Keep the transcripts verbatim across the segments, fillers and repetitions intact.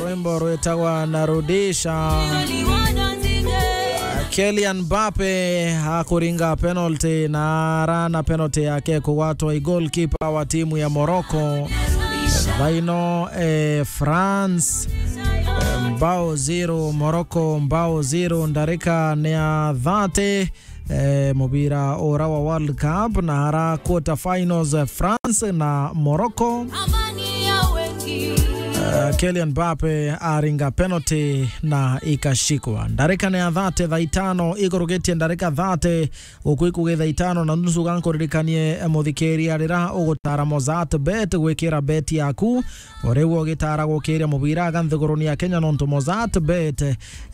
Rwimbo rwitagwa na Rudisha. Kylian Mbappe akuringa penalty na ara na penalty yake kugwatwa i goalkeeper wa timu ya Morocco. Thaino, eh, France, eh, mbao zero, Morocco mbao zero, ndarika ni ya thirty. Eh, mubira ura wa World Cup na ara quarter finals, eh, France na Morocco. Eh, Kylian Mbappe aringa penalty na ikashikwa. Ndarika ni ya thirty, thaa itano ikurugitie ndarika thirty, guku ikugi thaa itano na nusu. Ga nkuririkanie, eh, muthikiria, rira ugutara Mozart Bet gwikira bet yaku, uri ugitara gukiria mubira aga nthiguruni ya Kenya, nontu Mozart Bet,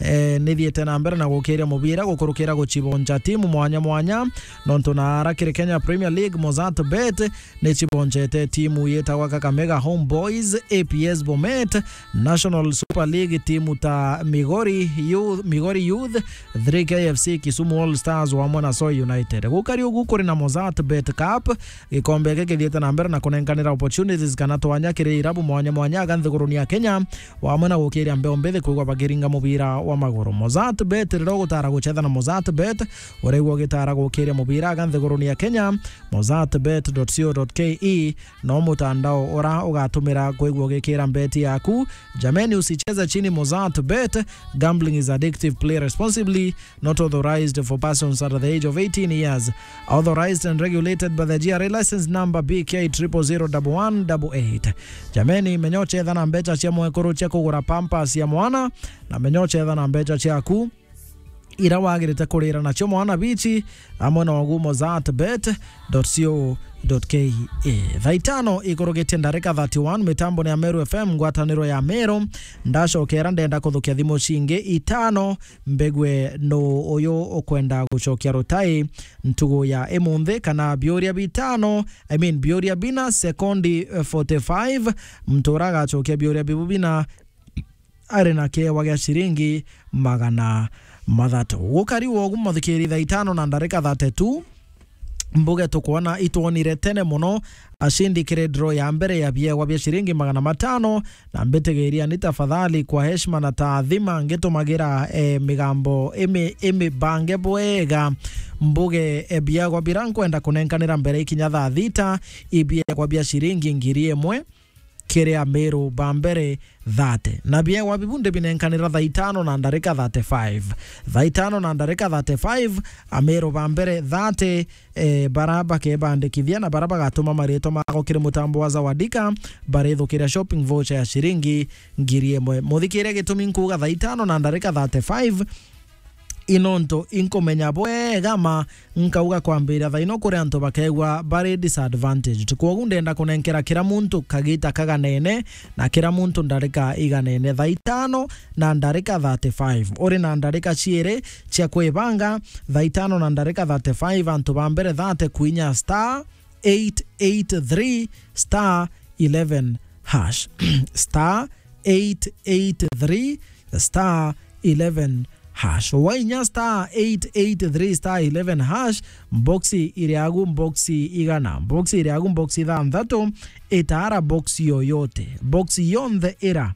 eh, nithiite na mbere na gukiria mubira gukurukira guchibonja timu mwanya mwanya, nontu na ara kiri Kenya Premier League, Mozart Bet nichibonjete timu yitagwa Kakamega Homeboys, A P S Bomet, National Super League, timu ta Migori Youth, Migori Youth, three K F C, Kisumu All Stars wamwe na Soi United. Gukari ugu kuri na Mozart Bet Cup, gikombe giki githiite na mbere na kunenkanira opportunities kana twanya kiri irabu mwanya mwanya aga nthiguruni ya Kenya, wamwe na gukiria mbeo mbithi kwigwa bakiringa mubira wa maguru. Mozart Bet, rira ugutara guchetha na Mozart Bet, uraigua ugitara gukiria mubira aga nthiguruni ya Kenya, mozart bet dot co dot K E no mutandao ura ugatumira kwigua ugikira mbeti yaku. Jameni, usicheze chini Mozart Bet. Gambling is addictive. Play responsibly. Not authorized for persons under the age of eighteen years. Authorized and regulated by the G R A license number B K triple zero double one double eight. Jameni, menya uchetha na mbecha cia mwekuru cia kugura pampers ya mwana, na menya uchetha na mbecha ciaku ira wagirite kurira nacio mwana bichi, amwe na ugu mozart bet dot co dot K E. Thaa itano ikurugitie ndarika thirty-one, mitambo ni ya Meru F M, ngwataniro ya Meru. Ndacokera ndenda kuthukia thimu cingi itano, mbigwe nu uyu ukwenda gucokia rutai ntugu ya imunthi, kana biuria bitano, I mean, biuria bina sekondi, eh, forty-five. Muntu ura agacokia biuria bibu bina ari na kiewa gia ciringi magana mathatu. Gukari wogu, muthikiri, thaa itano na ndarika thirty-two, mbuge tukwona itwonire tene mono acindi kiri draw ya mbere ya biewa bia ciringi magana matano, na mbitigiria ni tafadhali, kwa heshima na taadhima, ngitumagira, eh, migambo imi-, imibange bwega, mbuge, eh, biewa bira nkwenda kunenkanira mbere ikinya thaa thita, i biewa bia ciringi ngiri imwe kiri Ameru ba mbere thirty. Na biewa bibu ndibinenkanira thaa itano na ndarika thirty-five. Thaa itano na ndarika thirty-five, Ameru ba mbere thirty, eh, bara bakebandikithia na bara bagatuma maritwa mao kiri mutambo wa Zawadika, barithukiria shopping voucher ya ciringi ngiri imwe. Muthikiria, gitumi nkuuga thaa itano na ndarika thirty-five, i nontu inkumenya bwega ma nkauga kwambiria thaa ino kuri antu bakegwa bari disadvantaged. Kwogu ndenda kunenkera kira muntu kagita kaganene na kira muntu ndarika iganene. Thaa itano na ndarika thirty-five, uri na ndarika ciiri cia kwibanga. Thaa itano na ndarika thirty-five, antu ba mbere thirty kwinya star eight eight three star eleven hash. Star eight eight three star eleven hash. Wainya star eight eight three star eleven hash, boxi iri agu, boxi igana. Boxi iri agu, boxi ithanthatu, itara boxi yoyote. Boxi yonthe ira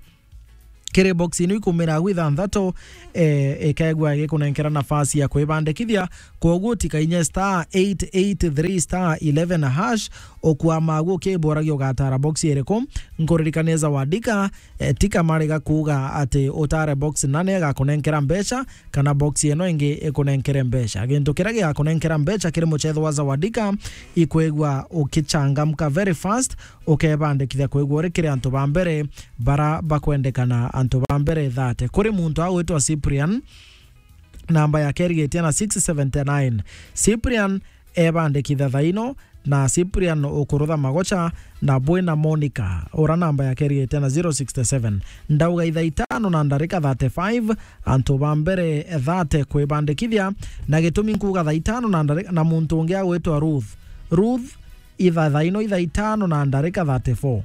kiri boxi ino ikumira agu ithanthatu, eh, ikegwa igikunenkera nafasi ya kwibandikithia. Kwoguo tikainya star eight eight three star eleven hash, ukwama agu ukiburagia ugatara boxi iriku. Nkuririkania Zawadika, eh, ti kamariga kuuga ati utare boxi nane agakunenkera mbeca, kana boxi ino ingi ikunenkere mbeca. Gintu kiria gigakunenkera mbeca kiri muchetho wa Zawadika, ikwigua ukichangamka very fast, ukebandikithia kwigua uri kiri antu ba mbere bara bakwendekana, antu ba mbere thirty. Kuri muntu agwitwa Cyprian, namba yake irigitie na six seventy nine. Cyprian ebandikitha thaino, na Cyprian ukurutha magocha, na bwina Monica, ura namba yake irigitie na zero sixty seven. Ndauga ithaa itano na ndarika thirty-five, antu ba mbere thirty kwibandikithia, na gitumi nkuuga thaa itano na ndarika, na muntu ungi agwitwa Ruth. Ruth, itha thaa ino ithaa itano na ndarika thirty-four.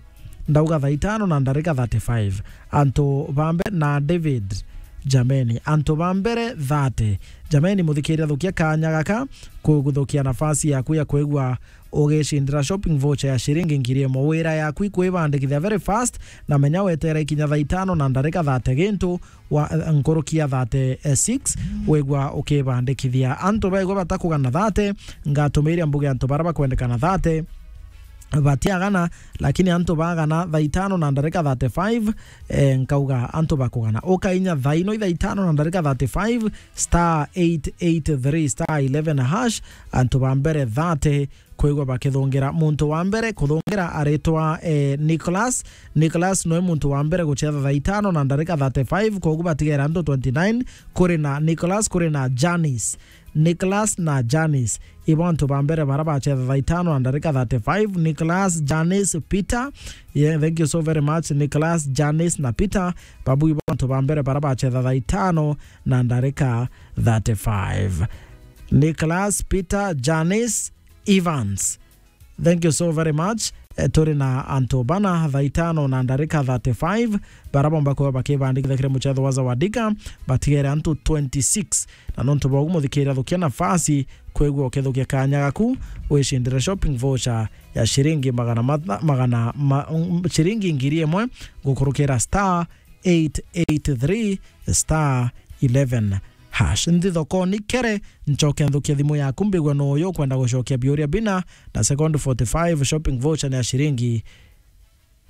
Ndauga thaa itano na ndarika thirty-five. Antu ba mbe-, na David. Jameni, antu ba mbere thate. Jameni, muthikiria, thukia kanya gaka kuguthukia nafasi yaku ya kwigua ugicindira shopping voucher ya ciringi ngiri imwe. Wira yaku ikwibandikithia very fast, na menya wetere ikinya thaa itano na ndarika thate gintu wa, eh, nkuruki ya thate six, wigua ukibandikithia. Antu baigua batakugana thate, ngatumiria mbuge antu bara bakwendekana thate batiagana, lakini antu bagana thaa itano na ndarika thirty-five, eh, nkauga antu bakugana. Ukainya thaa ino thaa itano na ndarika thirty-five, star eight eight three star eleven hash, antu ba mbere thate kwigua bakithungira. Muntu wa mbere kuthungira aritwa, eh, Nicholas. Nicholas noe muntu wa mbere gucetha thaa itano na ndarika thirty-five, koguo batigere antu twenty-nine. Kuri na Nicholas, kuri na Janice. Nicholas na Janice. Ibo antu ba mbere bara bacetha thaa itano na ndarika thirty-five. Nicholas, Janice, Peter. Yeah, thank you so very much. Nicholas, Janice na Peter. Babu ibo antu ba mbere bara bacetha thaa itano na ndarika thirty-five. Nicholas, Peter, Janice, Evans. Thank you so very much. Eh, turi na antu bana thaa itano na ndarika thirty-five, bara bomba kuba bakibandikithia kiri mucetho wa Zawadika, batigere antu twenty-six. Na nontu bwa uguo, muthikiria, thukia nafasi kwigua ukithukia kanya gaku, wicindire shopping voucher ya ciringi magana matha-, magana ma-, mm, ciringi ngiri imwe gukurukira star eight eight three star eleven hash. Nthi thokoni kere, ncoke nthukie thimu yaku, mbigwe no uyu ukwenda gucokia biuria bina, na second forty-five shopping voucher ni ya ciringi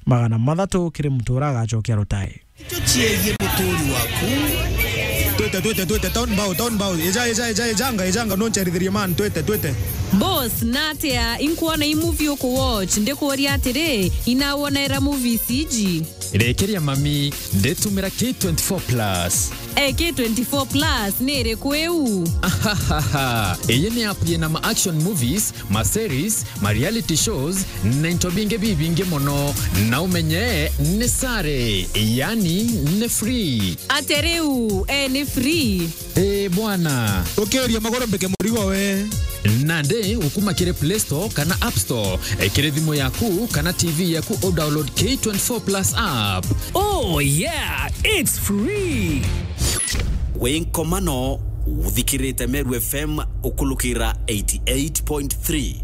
magana mathatu kiri muntu uria agacokia rutai. Icio ciegie muturi waku. Twite, twite, twite, town bow, town bow. Eja, eja, eja, ejanga, ejanga, noncherithirie man, twite, twite. Boss, natia inkuona i movie uku watch, ndikuuria atiri, inawonera movies iji? Rekeria mami, nditumira K twenty-four plus. Eh, K twenty-four plus ni iriku iu? Ahahaha. Iyi ni app yina ma action movies, ma series, ma reality shows, na into bingi bibingi mono. Na umenye ni sare, yani ni free. Ate riu, eh, ni free? Eh, bwana. Ukiria magoro mbike murigo we. Nandi ukuma kiri Play Store kana App Store, eh, kiri thimu yaku kana T V yaku, u download K twenty-four plus app. Oh yeah, it's free. Wi nkomano, uthikirite Meru F M ukulukira eighty-eight point three.